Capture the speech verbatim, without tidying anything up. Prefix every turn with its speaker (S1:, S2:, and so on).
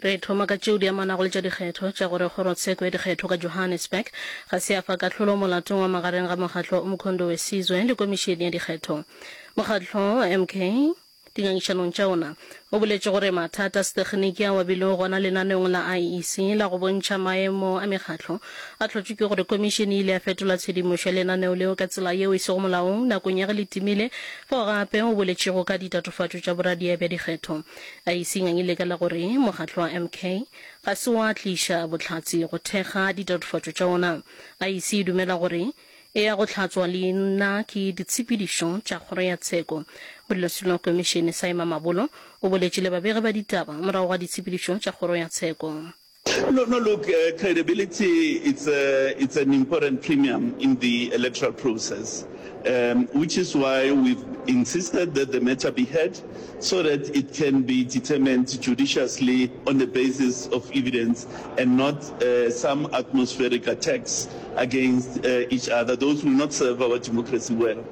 S1: Re thoma ka tšeo di amanago le tša dikgetho tša gore kgorotsheko ya dikgetho ka Johannesburg ga se ya fa kahlolo molatong wa magareng ga mokgatlo wa Umkhonto we Sizwe le komišene ya dikgetho. Mokgatlo wa M K dingangišanong tša ona o boletše gore mathata a setekginiki ao a bilego gona lenaneong la I E C la go bontšha maemo a mekgatlo a hlotšwe ke gore komišene e ile ya fetola tshedimošo ya lenaneo leo ka tsela yeo e sego molaong nakong ya ge le timile, fao gape o boletšego ka ditatofatšo tša boradia bja dikgetho. I E C e ngangile ka la gore mokgatlo wa M K ga se wa tliša bohlatse go thekga ditatofatšo tša ona. I E C e dumela gore e ya go hlatswa leina ke ditshepedišo tša kgoro ya tsheko. Modulasetulo wa komišene Saima Mabolo o boletše le babegi ba ditaba morago ga ditshepedišo tša kgoro ya tsheko.
S2: No, no, look, uh, credibility, it's, a, it's an important premium in the electoral process, um, which is why we've insisted that the matter be heard so that it can be determined judiciously on the basis of evidence and not uh, some atmospheric attacks against uh, each other. Those will not serve our democracy well.